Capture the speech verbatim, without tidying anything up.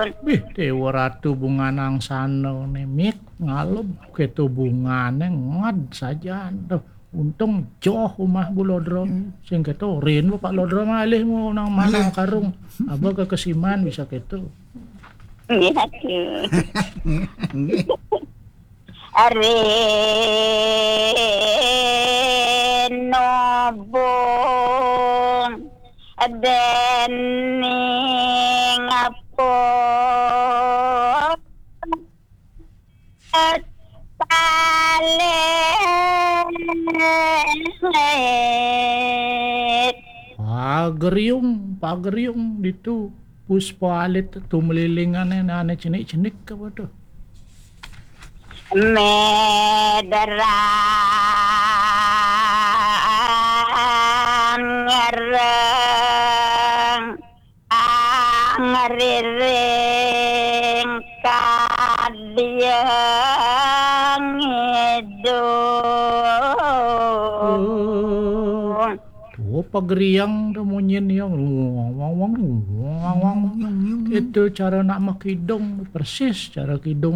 Bih, Dewa Ratu bungane angsana ne, Mik, ngalem, keto bungane nged sajan. Duh, untung joh umah Bulodro. Sing keto rin Pak Lodro ngalih nang manah karung. Aba kekesiman bisa keto. Nggih, aduh. Rinobong dening apa palit. Pageriung, pageriung ditu. Puspa alit tumelilingane ane cenik-cenik apa tuh? Mederang ngereng angriring kadiang idung. Tuh pageriang tuh munyin yang wang wang wang wang wang. Itu cara nak makidung, persis cara kidung.